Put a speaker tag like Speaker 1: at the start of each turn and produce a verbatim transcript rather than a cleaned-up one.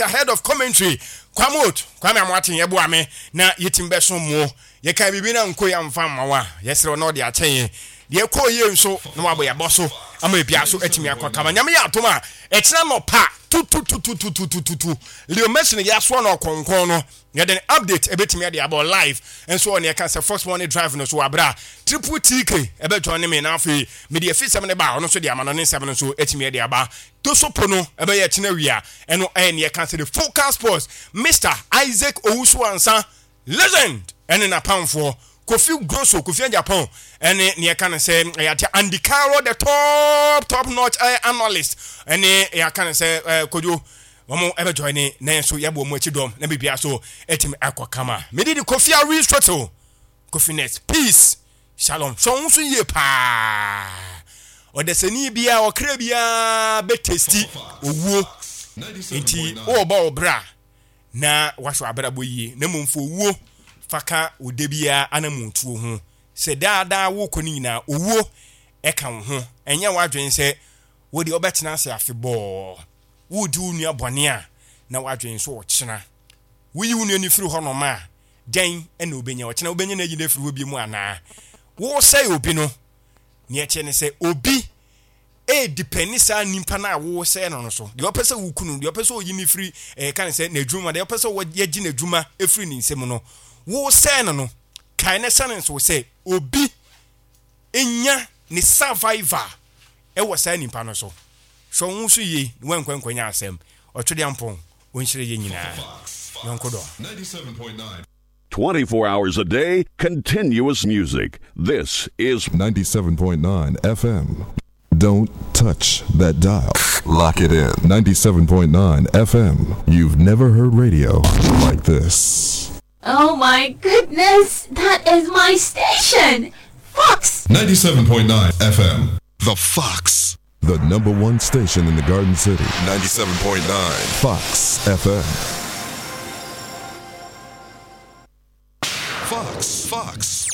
Speaker 1: ate head of commentary Kwamot Kwame Amoaten yɛboa me na yɛtim bɛso mo. Yɛka biribi na nko yɛmfa mma wo a, yɛserɛ na ɔde akyɛ yɛn. Deɛ ɛkɔɔ yie nso na wabɔ yɛabɔ so ama ebia so atumi akɔ kama. Nyame yɛ atom a, ɛkyena nɔpa tutututututututu Leo Messi no yɛasoa no ɔkɔnkɔn no, yɛde ne update ɛbɛtumi ade abɔ live nso wɔ neɛ ɛka sɛ Fox Morning Drive no so wɔ aberɛ a Triple T K ɛbɛjoin ne me, na afei mede afisɛm no ba a, ɔno nso de ama no ne nsɛm no nso atumi de aba. Tosopo no ɛbɛyɛ ɛkyena wia. Ɛno ɛyɛ neɛ ɛka sɛ The Focal Sports, Mister Isaac Owusu Ansa Legend ɛne n'apamfoɔ Kofi Grosso, Kofi Japan, ɛne neɛ ɛka no sɛ ɛyɛ ate Andy Carroll, the top top notch ɛyɛ analyst, ɛne yɛaka no sɛ ɛɛ Kodwo, wɔn ɛbɛjoin ne na yɛn nso yɛbɔ wɔn akyi dɔm na biribiara so ɛtumi akɔ kama. Mede de Kofi Aristotle, Kofi Net. Peace, shalom. Sɛ ɔho nso yie paa, ɔdasani biara, ɔkra biara bɛtaste owuo, nti wɔrebɔ wo bra na wahwɛ abrabɔ yie, na mmom fo owuo fa ka wo da biara anammɔntuo ho sɛ daadaa wokɔ no nyinaa owuo ɛka wo ho. Ɛnyɛ w'adwene sɛ wode wobɛtena ase afebɔɔ. Wodi wo nua bɔne a, na w'adwene nso ɔkyena woyi wo nua no firi hɔnom a, dɛn ɛna wobɛnya ɔkyena? Wobɛnya no ayi no afiri hɔ bi mu anaa wosɛe obi no? Neɛ ɛkyɛ ne sɛ obi ɛdepend saa nipa no a wosɛe no no so. Deɛ ɔpɛ sɛ woku no, deɛ ɔpɛ sɛ ɔyi no firi ɛka ne sɛ n'adwuma, deɛ ɔpɛ sɛ yɛgye n'adwuma ɛfiri ne nsam no, wosɛe no no kae ne sɛne nso sɛ obi nya ne survivor ɛwɔ saa nipa no so. Hwɛ wo ho so yie na woankɔ nkɔnya asɛm. Ɔtwedeampɔn ɔnhyerɛ yɛ nyinaa. Yɔnko dɔ.
Speaker 2: ninety-seven point nine. twenty-four hours a day, continuous music. This is
Speaker 3: ninety-seven point nine F M. Don't touch that dial. Lock it in. ninety-seven point nine F M. You've never heard radio like this.
Speaker 4: Oh my goodness, that is my station! Fox!
Speaker 3: ninety-seven point nine F M. The Fox. The number one station in the Garden City. ninety-seven point nine Fox F M.
Speaker 2: Fox, Fox.